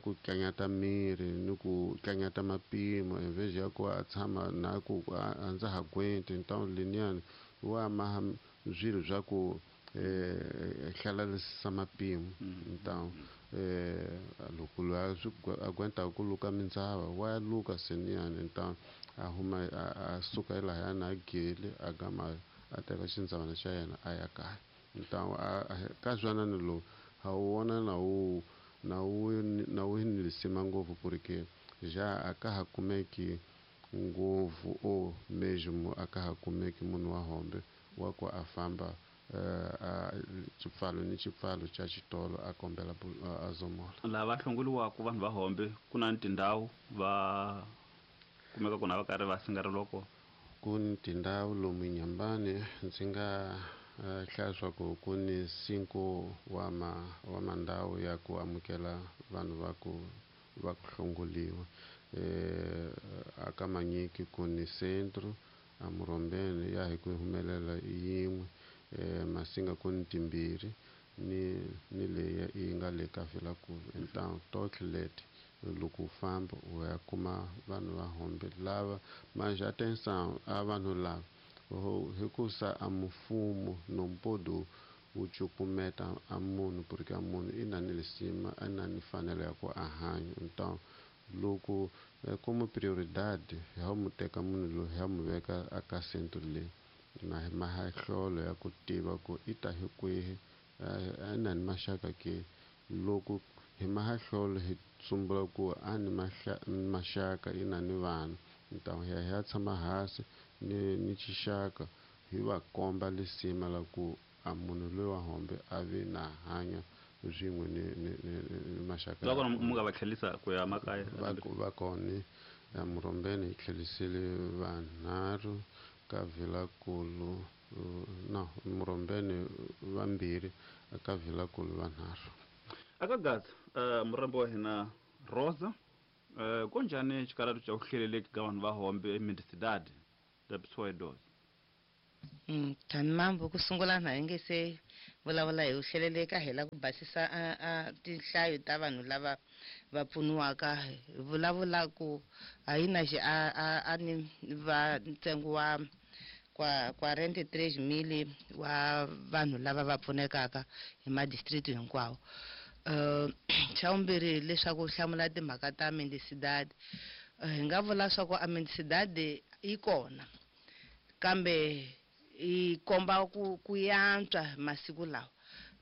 ku tlanyata miri ni ku tlanyata mapimo en vez ya ku a tshama na ku a ndza ha gwenti. Então liniyani wa maha swilo swa ku hlalarisisa mapimo. Então loko loyi a gwentaka ku luka mindzava wa luka seniyani. Então a huma a suka elahayani a gele a gama a teka xindzavana xa yena a ya kaya. Então ka zwanano lowu ha wu vona na wu ni lisima ngopfu porque já a ka ha kumeki ngopfu o mesmo a ka ha kumeki munhu wa hombe wa ku a famba xipfalo ni xipfalo xa xitolo a kombela a zomola. Lava hlongoliwaka vanhu va hombe ku na tindhawu va kumeka kona va karhi va singareliwa kona? Ku ni tindhawu lomu Inhambane ndzi nga hlaya swa ku ku ni 5 wa mandhawu ya ku amukela vanhu va ku hlongoliwa. A ka Manyiki ku ni centro, a Murombeni ya hi ku humelela yin'we, Masinga ku ni timbirhi ni leyi yi nga le ka Vilankulu. Então tohle leti loko u famba u ya kuma vanhu va hombe lava mas atenção a vanhu lava hikusa a mfumo nompodo wu cukumeta a munhu porque a munhu i na ni lisima a na ni mfanelo ya ku a hanya. Então loko como prioridade ha mu teka munhu loyi ha mu veka aka centro leyi na hi mahahlolo ya ku tiva ku i ta hi kwihi a na ni maxaka ke. Loko hi mahahlolo hi tsumbula ku a ni maxaka i na ni vana. Então hi ya tshama hansi ni xixaka hi va komba lisima la ku a munhu loyi wa hombe a vi na hanya swin'we ni maxaka. Loko mu nga va tlhelisa ku ya makaya? Va kona Murombeni hi tlhelisile vanharhu ka Vilankulu no Murombeni vambirhi aka Vilakulu vanharhu. Aka Gaza, murambo wa hina Rosa, konjani xikaratu xa ku hleleleki ka vanhu va hombe eMendicidade da pessoa idosa? Tani mambo ku sungula na hi nge se vulavula hi ku hleleleka hi la ku basisa a tinhlayo ta vanhu lava va pfuniwaka hi vulavula ku a yi na xi a ni va ntsengo wa kwa 43,000 wa vanhu lava va pfunekaka hi madistrict hinkwawo. Xa vumbirhi leswaku hlamula timhaka ta mendicidade, hi nga vula swa ku a mendicidade yi kona kambe yi komba ku yantswa masiku lawa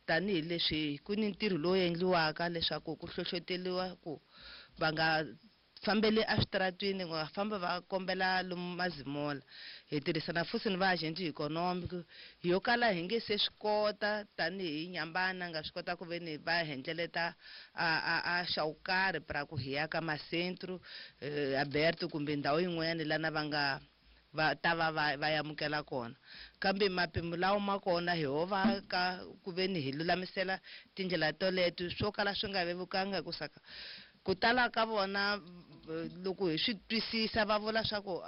tanihileswi ku ni ntirho lowu endliwaka leswaku ku hlohloteriwa ku va nga fambeli eswitaratwini, va famba va kombela lomu mazimola. Hi tirhisana futhi ni va agent economic yo kala hi nge se swi kota tanihi Nyambana nga swi kota ku ve ni va hendleleta a xa wo karhi pra ku hi ya ka masentru aberto kumbe ndhawu yin'wanyana lana va nga va ta va va amukela kona, kambe mapimo lawa ma kona hi ho va ka ku ve ni hi lulamisela tindlela toleto swo kala swi nga vevukanga ku saka ku tala ka vona loko hi swi twisisa va vula swa ku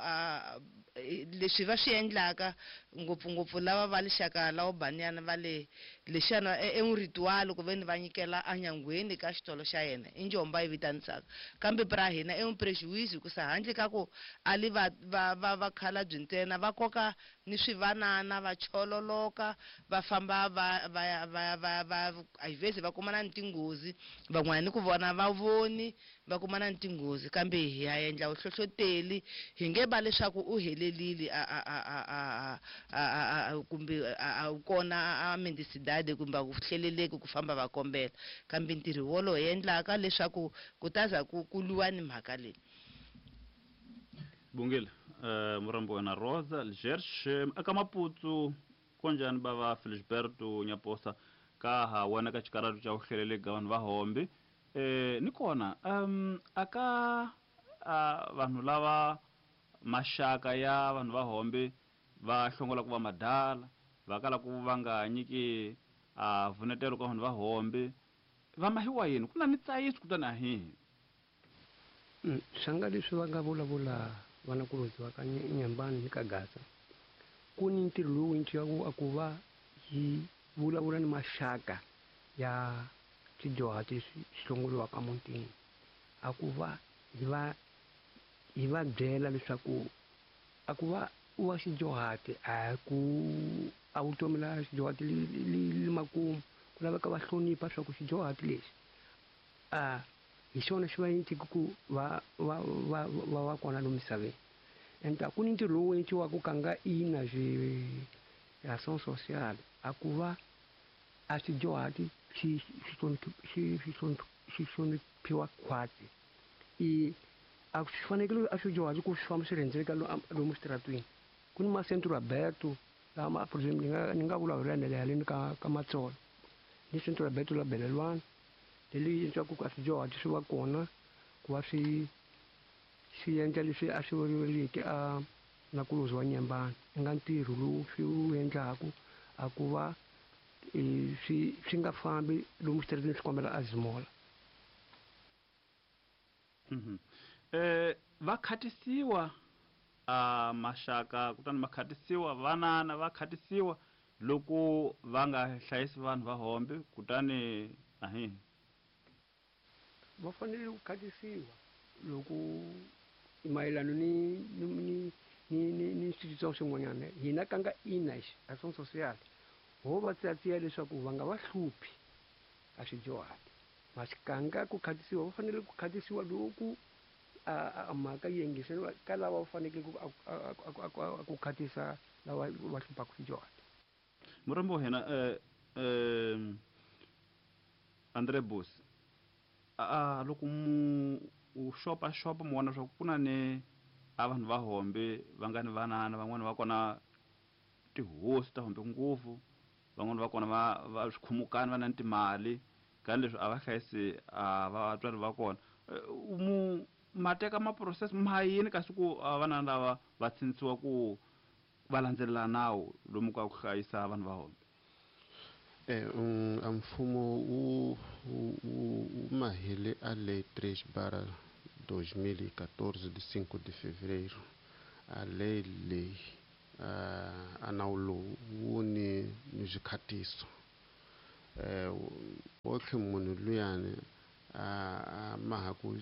leswi va swi endlaka ngopfungopfu lava va lixaka lawo banyana va le lexana e un ritual ku ve ni va nyikela enyangweni ka xitolo xa yena i njomba yi vitanisaka, kambe pra hina i un prejuízo ku sa handle ka ku a li va va va va khalabye ntsena va koka ni swivanana va chololoka va famba va va va va va às vezes va kumana ni tinghozi van'wana ni ku vona va voni va kumana ni tinghozi, kambe hi ya endla vuhlohloteli hi nge va leswaku u helelile a kumbe a kona a mendicidade kumbe a ku hleleleki ku famba va kombela, kambe ntirho wolowo hi endlaka leswaku ku ta za ku lwiwa ni mhaka leyi. Bungile, murambo wena Rosa Algerche aka Maputo konjani bava Felisberto Nyaposa ka ha wena ka xikaratu xa ku hleleleka ka vanhu va hombe. Ni kona aka vanhu lava maxaka ya vanhu va hombe va hlongola ku va madala va kala ku va nga nyiki a vunetelo ka vanhu va hombe va mahiwa yini ku na ni tsayiso kutani a hihi. Swanga leswi va nga vulavula vanakulobye va ka Nyambani ni ka Gaza ku ni ntirho lowu endliwaka a ku va hi vulavula ni maxaka ya swidyuhati leswi swi hlongoriwaka mutini, a ku va hi va byela leswaku a ku va wa xidyuhati a ku a vutomi la xidyuhati li makumu ku laveka va hlonipha swa ku xidyuhati lexi a hi xona xi va endleke ku va va va va va kona lomu misaveni. And a ku ni ntirho lowu endliwaka ka nga ina ação social a ku va a swidyuhati swi swi hloniphiwa khwatsi i a swi fanekele a swidyuhati ku swi famba swi rhendzeleka lomu switaratwini. Ku ni masentro aberto lama por exemplo ni nga vulavula haleni ka Matsolo ni centro aberto la Belelwana leli endliwaka ku a swidyuhati swi va kona ku va swi swi endla leswi a swi vuriweke a nakulobye wa Nyambani i nga ntirho lowu swi wu endlaku a ku va swi nga fambi lomu switarateni swi kombela a zimola. Va khatisiwa a maxaka kutani ma khatisiwa vanana va khatisiwa loko va nga hlayisi vanhu va hombe kutani ahi va fanele ku khatisiwa loko mayelana ni ni ni ni ni switsongo swin'wanyana hina ka nga ina action social ho va tsiyatsiya leswaku va nga va hluphi a swidyuhati maxikanga ku khatisiwa va fanele ku khatisiwa loko a mhaka yi yingiseriwa ka lava va fanekele ku khatisa lava va hluphaka swidyuhati. Murambo wa hina Andre Bos loko mu u xopaxopa mu vona swa ku na ni a vanhu va hombe va nga ni vanana van'wani va kona tihosi ta hombe ngopfu van'wani va kona va swikhumukani va na ni timali ka leswi a va hlayisi a vatswari va kona mu ma teka ma process ma yini kasi ku vana lava va tshintsiwa ku va landzelela nawu lomu ka ku hlayisa vanhu va hombe? A mfumo wu mahele a Lei 3/2014 de 5 de fevereiro. A lei leyi a nawu lowu wu ni swikhatiso. Wotlhe munhu luyani a maha ku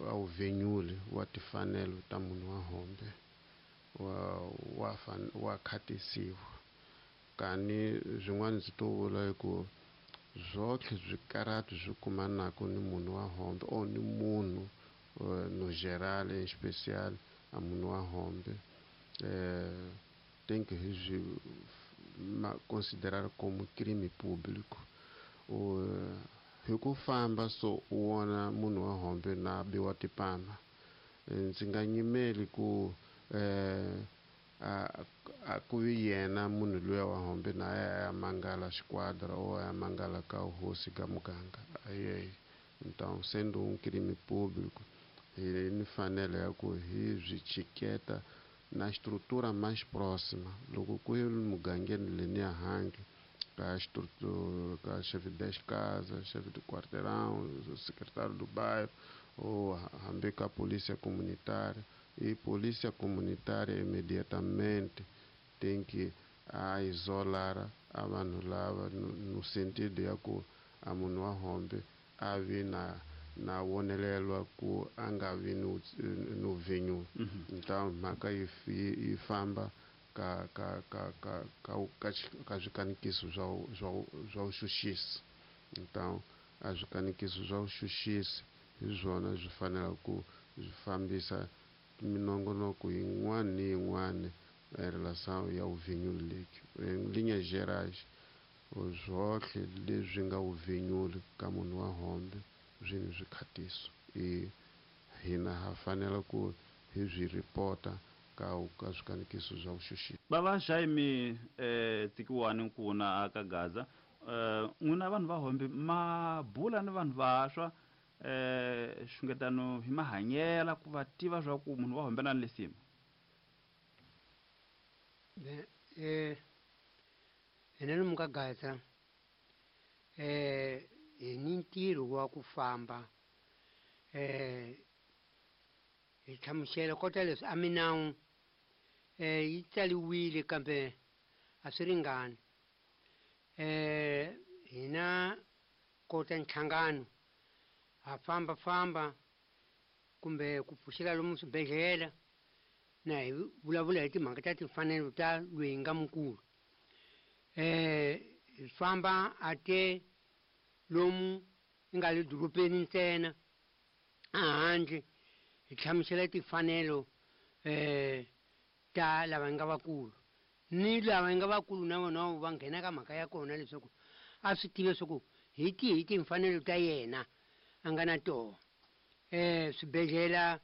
a wu venyule wa timfanelo ta munhu wa hombe wa khatisiwa. Kani swin'wana ndzi to vula hi ku zwotlhe swikarati swi kumanaka ni munhu wa hombe or ni munhu no geral em especial a munhu wa hombe tem que swi considerar como crime público. Hi ku famba so u vona munhu wa hombe na biwa tipama, ndzi nga nyimeli ku a ku vi yena munhu luya wa hombe na ya mangala xiquadra ou ya mangala ka hosi ka muganga. Aye, então sendo um crime público, hi ni fanele ya ku hi byi chiketa na estrutura mais próxima. Loko ku ri mugangeni leniya handle ka estrutura ka chefe de casa, chefe de quarteirão, secretário do bairro ou hambi ka polícia comunitária. E polícia comunitária imediatamente tem que a isolar a vanhu lava no sentido ya ku a munhu wa hombe a vi na vonelelwa ku a nga vi no venyu. Então mhaka yi famba ka ka ka ka ka ka swikanikiso swa vuxuxisi. Então a swikanikiso swa vuxuxisi hi swona swi fanela ku swi fambisa minongonoko yin'wana ni yin'wana em relação ya vuvinyuli leki. Em linhas gerais, zwotlhe leswi nga vuvinyuli ka munhu wa hombe swi ni swikhatiso. I hina ha fanela ku hi swi ripota ka swikanikiso swa vuxuxisi. Bava Jaime Tsikiwani Nkuna aka Gaza, n'wina vanhu va hombe ma bula ni vanhu vantshwa xungetano hi mahanyela ku va tiva swa ku munhu wa hombe na lesima. Hina lomu ka Gaza hi ni ntirho wa ku famba hi hlamusela kota leswi a minawu yi tsaliwile kambe a swi ringani. Hina kota nhlangano ha famba famba kumbe ku pfuxela lomu swibedhlele na hi vulavula hi timhaka ta timfanelo ta loyi nga mukulu. Hi famba a te lomu yi nga le dorobeni ntsena a handle hi hlamusela timfanelo ta lava nga vakulu ni lava nga vakulu na vona va nghena ka mhaka ya kona leswaku a swi tive leswaku hi tihi timfanelo ta yena a nga na toho. Swibedhlele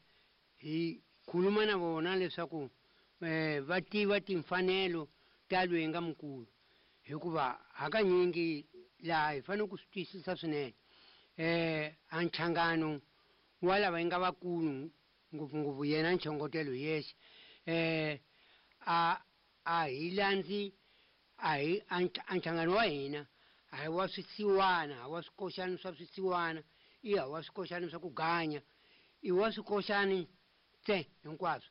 hi khuluma na vona leswaku va tiva timfanelo ta loyi nga mukulu, hikuva hakanyingi laha hi fanele ku swi twisisa swinene. A nhlangano wa lava nga vakulu ngopfungopfu yena nchongotelo yexe a hi landzi a hi a nhlangano wa hina a hi wa swisiwana, a wa swikoxani swa swisiwana, i a wa swikoxani swa ku ganya, i wa swikoxani tse hinkwaswo.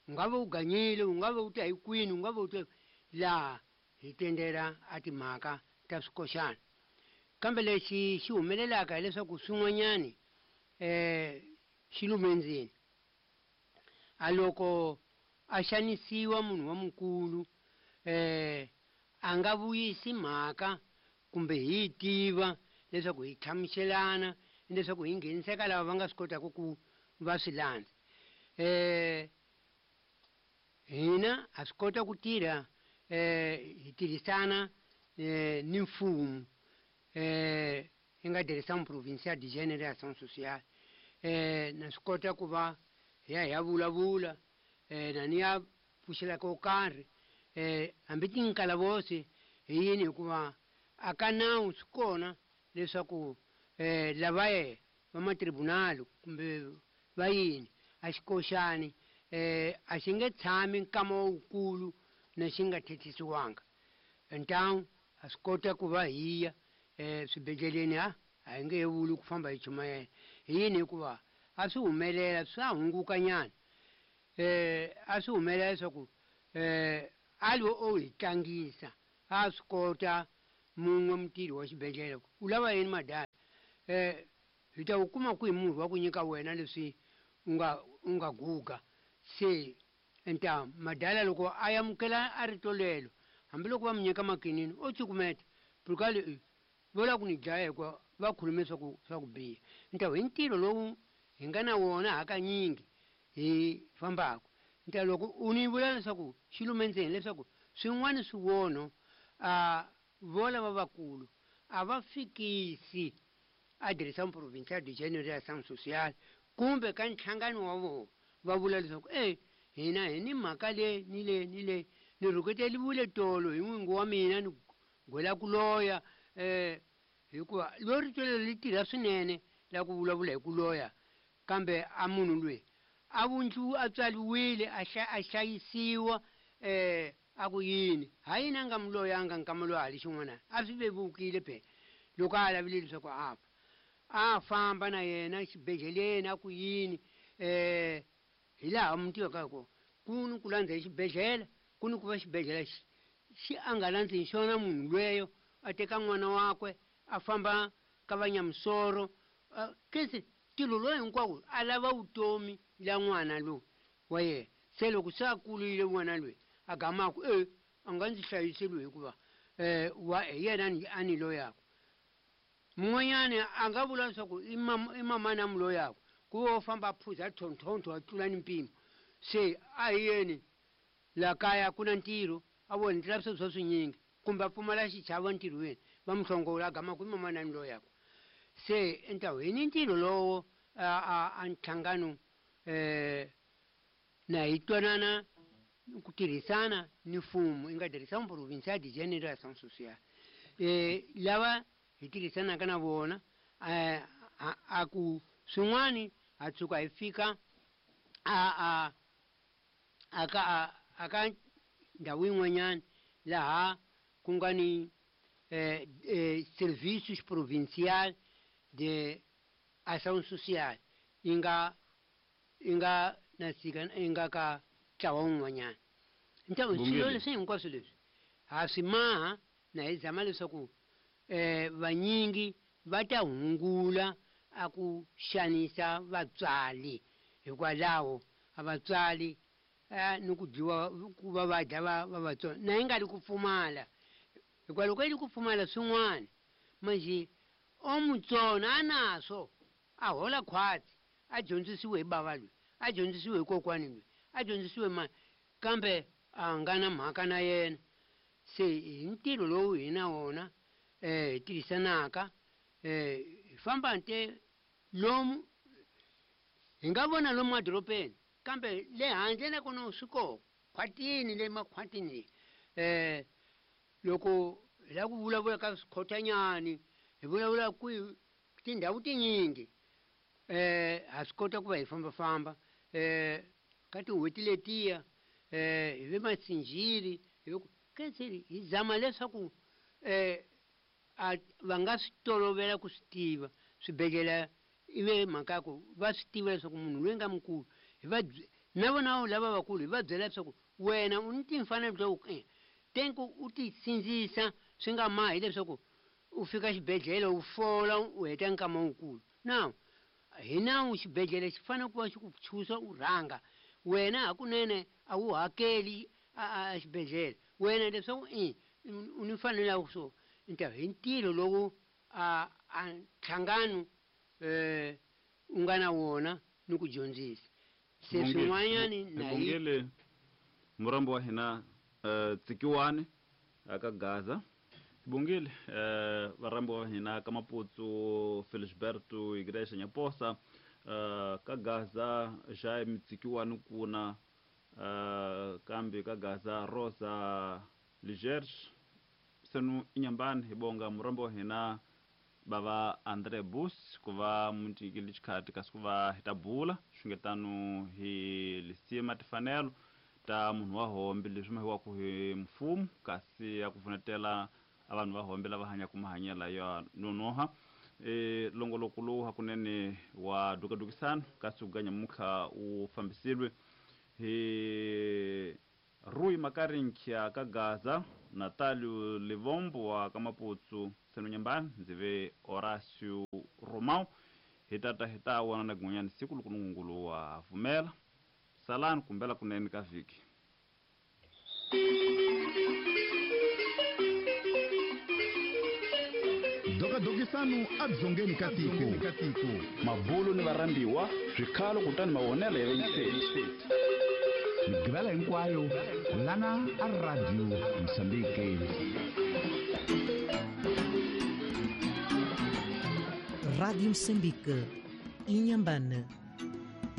U nga va u ganyile, u nga va u ta hi kwini, u nga va u ta laha hi tendela a timhaka ta swikoxana. Kambe lexi xi humelelaka hileswaku swin'wanyani xi lume ndzeni. A loko a xanisiwa munhu wa mukulu a nga vuyisi mhaka kumbe hi tiva leswaku hi hlamuselana leswaku hi ngheniseka lava va nga swi kotaka ku va swi landza. Hina ha swi kota ku tirha hi tirhisana ni mfumo hi nga Direção Provincial de Gênero e Ação Social. Na swi kota ku va hi ya hi ya vulavula na ni ya pfuxela ko karhi hambi tinkalavose hi yini, hikuva a ka nawu swi kona leswaku lava va matribunal kumbe va yini a xikoxani a xi nge tshami nkama wukulu na xi nga thethisiwanga. Então Ha swi kota ku va hi ya swibedhleleni, a hi nge he vuli ku famba hi chumayela hi yini, hikuva a swi humelela swa hungukanyana. A swi humelela leswaku a lo o hi tlangisa, a swi kota mun'we mutirhi wa xibedhlele ku u lava yini madala, hi ta wu kuma kwihi murhi wa ku nyika wena leswi u nga guga. Se enta madala loko a amukela a rito lelo, hambiloko va mu nyika makinini o cukumeta purukale vo lava ku ni dlaya, hikuva va khulume swa ku biha. Nta hi ntirho lowu hi nga na wona hakanyingi hi fambaka. Nta loko u ni vula leswaku xi lume ndzeni leswaku swin'wana swivono a vo lava vakulu a va fikisi a Direção Provincial de Gênero e Ação Social kumbe ka nhlangano wa vona, va vula leswaku e hina hi ni mhaka le ni le ni le, ni rhuketeliwile tolo hi n'wingi wa mina, ni gwela ku loya, hikuva lo rito leri li tirha swinene la ku vulavula hi ku loya. Kambe a munhu loyi a vundzu a tswariwile a hlayisiwa, a ku yini ha yini a nga mu loyanga nkama loyi a li xin'wana? A swi vevukile phela loko a lavile leswaku a fa, a famba na yena xibedhleleni, a ku yini, hi laha mi tivaka hi kona ku ni ku landza hi xibedhlele, ku ni ku va xibedhlele xi a nga landzi hi xona munhu lweyo, a teka n'wana wakwe a famba ka vanyamusoro kese ntirho lowu hinkwawo a lava vutomi la n'wana lowu wa yena. Se loko se a kurile n'wana loyi a gamaku e a nga ndzi hlayiseli hikuva wa hi yena a ni loyaku. Mun'wanyani a nga vula leswaku i mamani a mu loyaku, ku va u famba a phuza tlhontlhontlho a tlula ni mpimo. Se a hi yeni la kaya ku na ntirho a vona ni lavisa swa swinyingi kumbe a pfumala xichavo ntirhweni, va mu hlongola, a gama ku i mamani a ni loyaku. Se ntawu hi ni ntirho lowo a nhlangano na hi twanana ku tirhisana ni mfumo i nga Direção Provincial de Gênero e Ação Social, lava hi tirhisanaka na vona, a ku swin'wani ha tshuka hi fika a a a ka a ka ndhawu yin'wanyana laha ku nga ni serviços provincial de ação social yi nga na sika yi nga ka ntlawa wun'wanyana. Nta swilo leswi hinkwaswo leswi ha swi maha na hi zama leswaku vanyingi va ta hungula a ku xanisa vatswari, hikwalaho a vatswari ni ku dyiwa ku va va dya va vatsongo na yi nga ri ku pfumala, hikuva loko yi ri ku pfumala swin'wana manje o mutsona a naswo a hola khwatsi, a dyondzisiwe hi bava loyi, a dyondzisiwe hi kokwani loyi, a dyondzisiwe mani, kambe a nga na mhaka na yena. Se hi ntirho lowu hi na wona hi tirhisanaka, hi famba nte lomu hi nga vona lomu madorobeni, kambe le handle na kona swi koho khwatini, le makhwatini leyi loko hi lava ku vulavula ka swikhotanyani, hi vulavula kwihi tindhawu tinyingi, ha swi kota ku va hi fambafamba ka tin'hweti letiya, hi ve masinjiri hi ve kenseri, hi zama leswaku a va nga swi tolovela ku swi tiva swibedhlele, i ve mhaka ya ku va swi tiva leswaku munhu loyi nga mukulu hi va na vona lava vakulu hi va byela leswaku wena u ni timfanelo ta ku tenku u ti sindzisa swi nga mahi leswaku u fika xibedhlele u fola u heta nkama wukulu. Now hi nawu xibedhlele xi fanele ku va xi ku chusa u rhanga wena, hakunene a wu hakeli a xibedhlele wena leswaku i u ni mfanelo ya so nta hi ntirho lowu a nhlangano u nga na wona ni ku dyondzisa se swin'wanyani na hi Bongile murambo wa hina Tsikiwani aka Gaza. Bongile varambi wa hina ka Maputsu Felisberto Igreja Nyaposa, ka Gaza Jaime Tsikiwani kuna, kambe ka Gaza Rosa Ligerge senu inyambani. Hi bonga murambo wa hina bava Andre Bus ku va munyikile xikhati kasi ku va hi ta bula xungetano hi lisima timfanelo ta munhu wa hombe leswi mahiwaku hi mfumo kasi ya ku pfunetela. A vanhu va hombe lava hanyaka mahanyelo ya nonoha. Longoloko lowu hakunene wa dukadukisano ka siku ka nyamutlha wu fambisile hi Rui Makarinkhya ka Gaza, Natalio Livombo wa ka Maputsu, Senonyambani, ndzi ve Horacio Romão. Hi tata hi ta vona na kun'wanyana siku loko Nungungulu wa pfumela. Salani kumbela kunene ka vhiki. Dokadokisano edzongeni ka tiko. Mabulo ni varhambiwa, swikhalo kutani mavonelo ya vayingiseri. Migqivela hinkwayo lana a Radio Mozambique. Rádio Moçambique, Inhambane.